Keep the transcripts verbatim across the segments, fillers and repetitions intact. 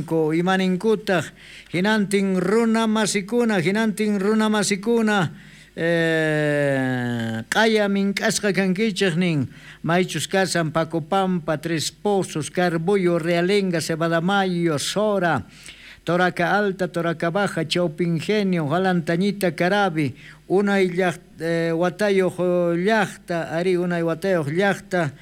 ninku, imaninkutaj hinantin runa masikuna, hinantin runa masikuna eh, q'aya mink'asqa kankichej nin, maychus kasan Pacopampa, Tres Pozos, Carbuyo, Realenga, Cebadamayo, Sora, Toraca Alta, Toraca Baja, Chaupingenio, Jalantañita, Carabi, unay eh, watayoj llajta, ari unay watayoj llajta,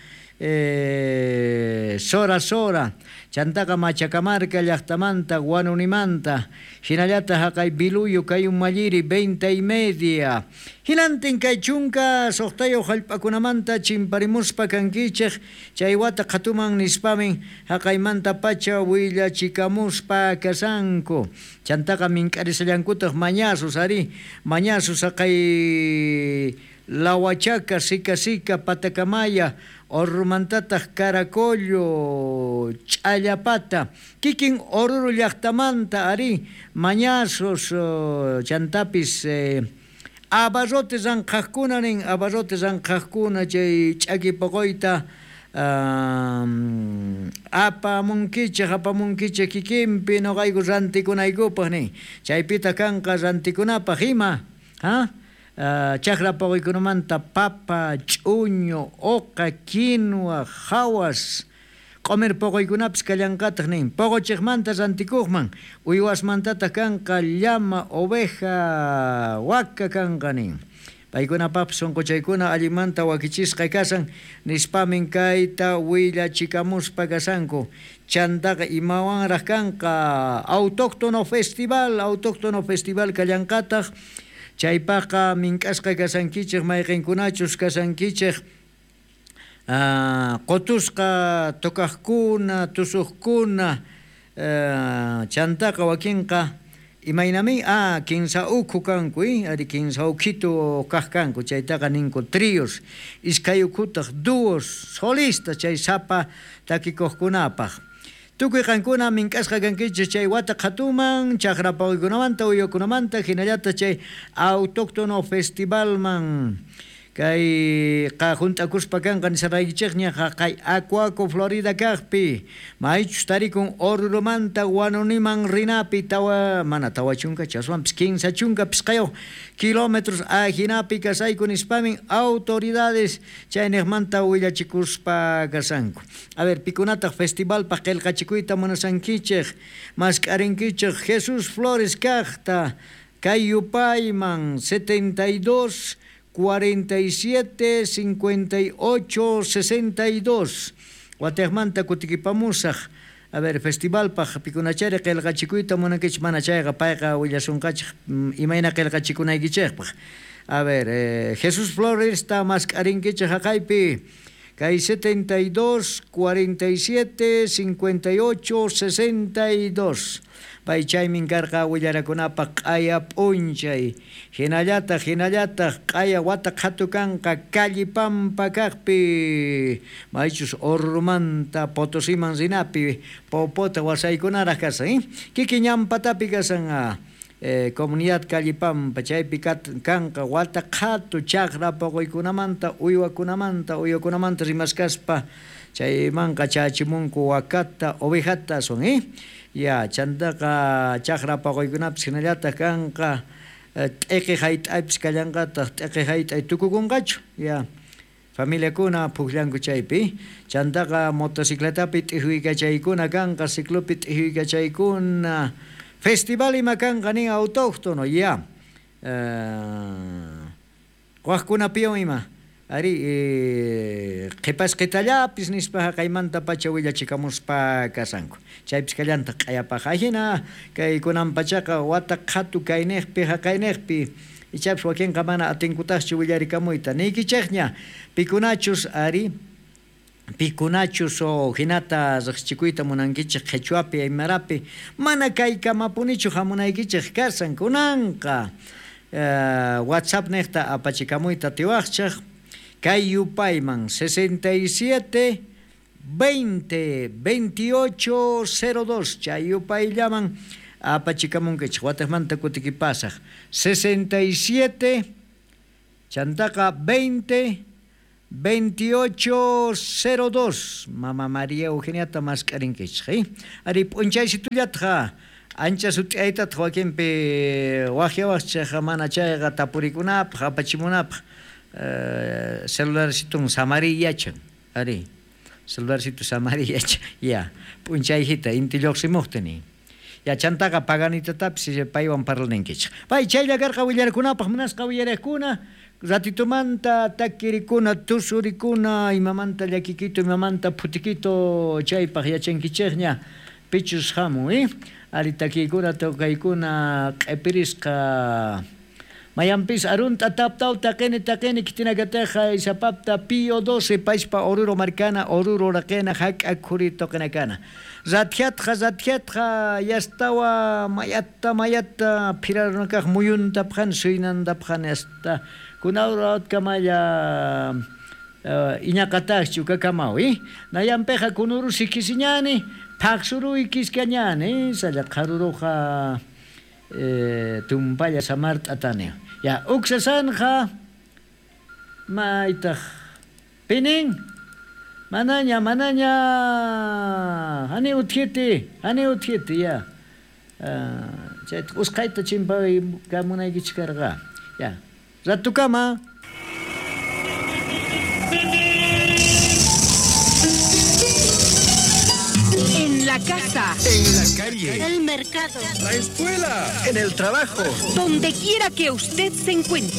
eh, Sora Sora, chantaqa Machacamarca llajtamanta, Guanunimanta, hinallata haqay Biluyo, Kayumalliri, veinte y media. Hinantin kay chunka suqtayuq hallp'akunamanta chimparimuspa kankichej, chay wata qhatuman nispamin haqaymanta pacha willachikamuspa kasanku. Chantaqa mink'arisallankutaq mañasus ari, mañasus haqay Lahuachaca, Sica Sica, Patacamaya, Orrumantataq Caracollo, Ch'allapata, kikin Oruro llaqtamanta ari, mañasus chantapis eh, abarrotes ranqhaqkuna nin, abarrotes ranqhaqkuna chay ch'aki poqoyta um, apamunkichej, apamunkichej kikinpi noqayku rantikunaykupaq nin, chaypita kanqa rantikunapaq ima, ha? Uh, chakra poqoykunamanta papa, ch'uño, oqa, quinoa, jawas, q'umir poqoykunapis kallanqataq nin, poqochejmanta rantikuqman, uywasmantataq kanqa llama, oveja, waka kanqa nin. Paykunapaqpis sunquchaykuna allinmanta wakichisqa kasan nispamin kayta willachikamuspa kasanku. Chantaqa imawanraq kanqa autóctono festival, autóctono festival kallanqataq. Chaypaqqa mink'asqa kasankichej, mayqinkunachus kasankichej, uh, qotusqa tocaqkuna, tusuqkuna, uh, chantaqa wakinqa imaynami, ah, kinsa ukhu kanku, eh? Ari kinsa ukhitu kaq kanku, chaytaqa ninku tríos, iskay ukhutaq dúos, solistas chay sapa takikuqkunapaq. Tukuy qankuna mink'asqa kankichej chay wata qhatuman, chakra pawaykunamanta, uywakunamanta, hinallata chay autóctono festivalman. Kay qajunt'akuspa kanqa nisaraykichejña haqay Acuaco Florida kaqpi, maychus tarikun Orurumanta Guanuniman rinapi tawa, mana tawa chunka chaswanpis kinsa chunka pisqayuq kilómetros ajinapi kasayku nispamin autoridades chayniqmanta willachikuspa kasanku. A ver, pikunataq festivalpaq qillqachikuyta munasankichej, mask'arinkichej Jesús Flores kaqta, kay yupayman setenta y dos cuarenta y siete cincuenta y ocho sesenta y dos. Watejmanta kutikipamusaj. A ver, festivalpaq pikunachari qillqachikuyta munankichej mana chayqa payqa willasunqachej imayna qillqachikunaykichejpaq. A ver, eh, Jesús Flores ta mask'arinkichej haqaypi. Kay setenta y dos cuarenta y siete cincuenta y ocho sesenta y dos. Pay chaymin karqa willarakunapaq q'aya p'unchay. Hinallataq, hinallataq q'aya wata qhatu kanqa Callipampa kaqpi. Maychus Orurumanta Potosiman rinapi popota wasaykunaraq kasan, eh? Kikin ñampatapi kasan, ah, eh, comunidad Callipampa chaypi kanqa wata qhatu chakra poqoykunamanta, uywakunamanta, uywakunamanta rimaskaspa chaymanqa chachimunku wakata, ovejata son, eh? Ya, chantaqa chakra poqoykunapis hinallataq kanqa t'iki hayt'aypis kallanqataq, t'iki hayt'ay tukukunqachu, ya. Familiakuna pukllanku chaypi, chantaqa motocicletapi t'ijuykachaykuna kanqa, ciclopi t'ijuykachaykuna, festival ima kanqa nin autóctono, ya. Uh, waqkunapiwan ima. Ari, eh, qhipasqitallapis nispa haqaymanta pacha willachikamuspa kasanku. Chaypis kallantaq q'ayapaq ajina, kay kunan pachaqa wata qhatu kayniqpi haqayniqpi, ichapis wakinqa mana atinkutaqchu willarikamuyta. Niykichejña, pikunachus ari, pikunachus o hinata riqsichikuyta munankichej qhichwapi, aymarapi, mana kaykamapunichu hamunaykichej kasan kunanqa. Uh, WhatsApp niqta apachikamuyta tiwaqchej. Kay yupayman sesenta y siete veinte veintiocho cero dos chay yupayllaman apachikamunkichej watejmanta kutikipasaj sesenta y siete chantaqa veinte veintiocho cero dos. Mama María Eugeniata mask'arinkichej, eh? Ari p'unchaysitullatqa ancha sut'aytataq wakinpi waqyawaqchej mana chayqa tapurikunapaq apachimunapaq eh, celularcitun samariy yachan, ari celularcito samariy yachan, ya p'unchayjita inti lluqsimuqta nin. Ya chantaqa paganitatapis paywan parlanankichej. Pay chaylla karqa willarkunapaq munasqa willarikuna ratitumanta takirikuna tusurikuna imamanta llakikito imamanta phutikito chaypaq yachankichejña pichus hamun, eh? Ari takiykuna tokaykuna q'ipirisqa mayanpis arunta taptaw taqini taqini kitinakateja isapapta Pío doce paispa Oruro markana Oruro raqena hak'a khuri toqinakana ratjatqa ratjatqa yastawa mayatta mayatta phirarunakaq muyuntapqan suynantapqan hasta kunawratkamalla uh, iñaqataqchu kakamaw, eh? Nayanpiqa kunurusi kisiñani phaqsuruy kiskañani salla qharuruqa eh, tumpalla samart'atani. Ya uksasanja maytaq pinin manaña manaña hani utjiti hani utjiti ya uh, chayta usqhayta chimpay kamunaykichik karqa ya ratukama. En la casa, en la calle, el mercado, la escuela, en el trabajo, donde quiera que usted se encuentre.